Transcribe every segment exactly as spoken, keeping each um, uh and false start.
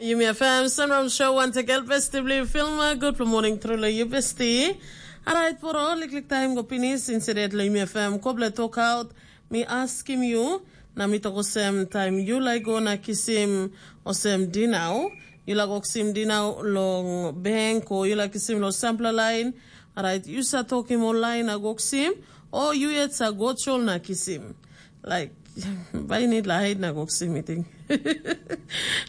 Yumi F M Sunrise Show once again, festively film. Good morning, truly, you bestie. Alright, for all liklik time go pinis, instead lo Yumi F M, koble talk out. Mi askim you, na mi tok osem, time you like go na kisim osem dinau, you like go kisim dinau long bank, or you like kisim lo sampler line. Alright, you sa talk him online na go kisim, or you yet sa go chol na kisim. Like, bai need la hide na go kisim meeting.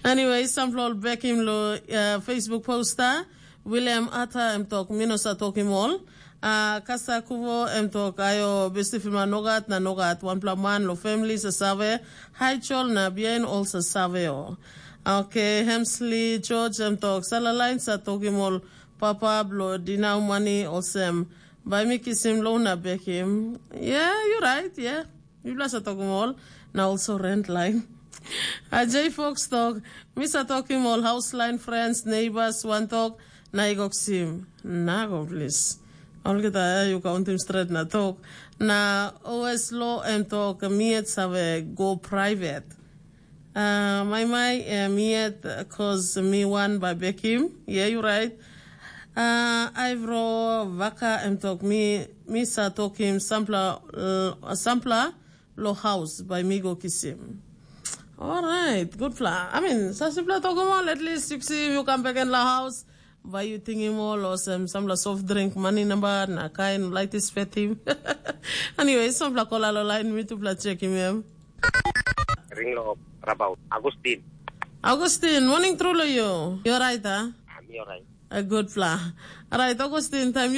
Anyway, sampla ol bekim lo uh, Facebook poster. William Ata em tok, mi no sa tokim ol. Uh, Kasa Kuvo em tok, ayo besti filma nogat na nogat. Wanpela man lo family sa save. Hai chol na bihain ol sa save o. Okay, Hemsley George em tok, sala lain sa tokim ol papa blo dinau mani olsem. Bai mi kisim lo na bekim. Yeah, you right, yeah. Yupela sa tokim ol, na also rent line. Ajay Fox tok, mi sa tokim ol house line friends, neighbors, wan tok, na i go kisim. Na go plis. Olgeta ya yu kauntim stret na tok. Na O S lo em tok, mi yet save go private. Uh, mai mai, uh, mi yet, cause mi wan bai bekim. Yeah, you right. Uh, Aivro Vaka em tok, mi, mi sa tokim sampla, uh, sampla lo haus bai mi go kisim. Alright, good pla. I mean, sa simpla tokim ol, at least you see you come back in la house. Bai you tingim ol olsem sampla soft drink mani namba na kain laitis fetim. Anyway, sampla kola lo lain mi tupla chekim em. Ring lo Rabaut. Agustin. Augustin, morning tru lo you. You're right, ah? I'm alright. A good pla. Alright, Augustin, time